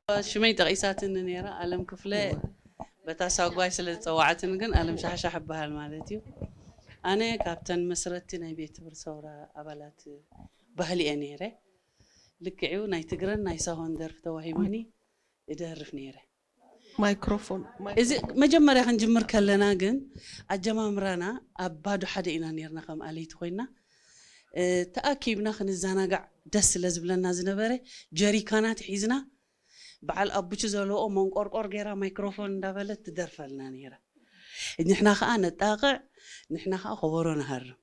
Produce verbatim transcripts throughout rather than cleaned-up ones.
ሽመይ ጠቂሳትኒ ነይራ፣ አለም ክፍለ። እወ። በታ ሳጓይ ስለ ዝጸዋዐትኒ ግን አለም ሻሕሻሕ እበሃል ማለት እዩ። አነ ካብተን መስረቲ ናይ ቤት ትምህርት ሰውራ አባላት ባህሊ እየ ነይረ። ልክዕዩ ናይ ትግረን ናይ ሳሆን ደርፍ ተዋሂቡኒ እደርፍ ነይረ። ማይክሮፎን፣ እዚ ማይክሮፎን። መጀመርያ ክንጅምር ከለና ግን አጀማምራና ኣብ ባዶ ሓደ ኢና ነይርና፣ ከም ኣለይቲ ኮይና፣ እ፣ ተኣኪብና ክንዘናጋዕ ደስ ስለ ዝብለና ዝነበረ ጀሪካናት ሒዝና፣ በዓል ኣቡቹ ዘለውኦ መንቆርቆር ገይራ ማይክሮፎን እንዳበለት ትደርፈልና ነይራ። ንሕና ከኣ ነጣቕዕ፣ ንሕና ከኣ ከበሮ ንሃርም።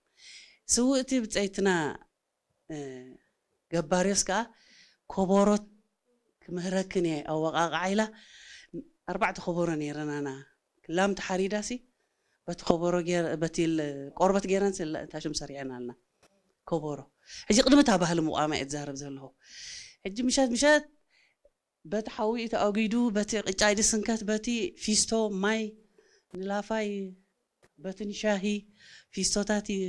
ስውእቲ ብጸይትና እ፣ ገባርዮስ ከኣ፣ "ኮቦሮ ክምህረክን እየ፣ ኣወቃቅዓ" ኢላ፣ ኣርባዕተ ኮቦሮ ነይረናና። ክላም ተሓሪዳሲ፣ በቲ ኮቦሮ ጌር-፣ በቲ ል-፣ ቆርበት ጌረን ስለ-፣ ታሽም ሰሪዐናልና። ኮቦሮ። ሕጂ ቅድሚ እታ ባህሊ ምቋማ እየ ትዛረብ ዘለኹ። ሕጂ ምሸት ምሸት በቲ ሓዊ ተኣጒዱ፣ በቲ ቅጫይ ድስንከት፣ በቲ ፊስቶ ማይ ንላፋይ፣ በቲ ንሻሂ ፊስቶታት ይ-፣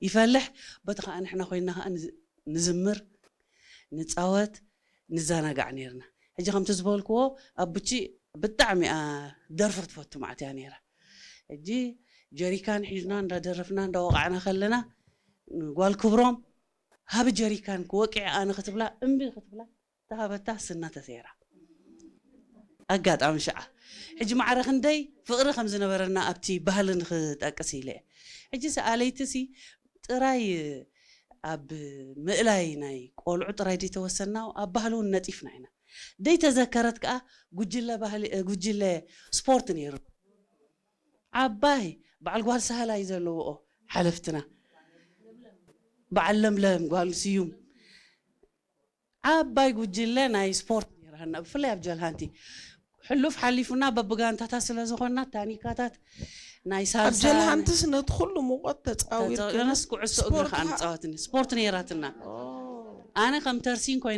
ይፈልሕ፣ በቲ ኸኣ ንሕና ኮይንና ኸኣ ንዝ-፣ ንዝምር፣ ንጻወት፣ ንዘናጋዕ ኔርና። ሕጂ ከምቲ ዝበልክዎ፣ ኣቡቺ ብጣዕሚ እያ ደርፊ ክትፈቱ መዓት እያ ኔራ። ሕጂ ጀሪካን ሒዝና እንዳደረፍና እንዳወቃዕና ከለና፣ ጓል ክብሮም፣ "ሃቢ ጀሪካን ክወቅዕ ኣነ" ክትብላ፣ እምቢ ክትብላ፣ ተሃበታ ስና ተሴራ። ኣጋጣሚ ሽዓ። ሕጂ ማዕረ ክንደይ ፍቕሪ ከም ዝነበረና ኣብቲ ባህሊ ንኽጠቅስ ኢለ እየ። ሕጂ ሰኣለይትሲ ጥራይ ኣብ ምእላይ ናይ ቆልዑ ጥራይ ደይተወሰንና፣ ኣብ ባህሊ እውን ነጢፍና ኢና። ደይተዘከረት ከኣ ጉጅለ ባህሊ፣ ጉጅለ ስፖርት ነይሩ። ዓባይ በዓል ጓል ሳህላይ ዘለውኦ ሓለፍትና። በዓል ለምለም ጓል ስዩም። ዓባይ ጉጅለ ናይ ስፖርት ነይራሃና፣ ብፍላይ ኣብ ጀልሃንቲ። ሕሉፍ ሓሊፉና በብጋንታታት ስለ ዝኾንና፣ ታኒካታት ናይ ኣብ ሳልሳ ጀልሃንትስ ነቲ ኩሉ ሙቐት ተጻዊርክን ተጻዊርናስ ኩዕሶ እግሪ ስፖርት ከኣ ኸ-፣ ንጻወትኒ። ስፖርት ነይራትና። ኦ። ኣነ ከም ተርሲን ኮይነ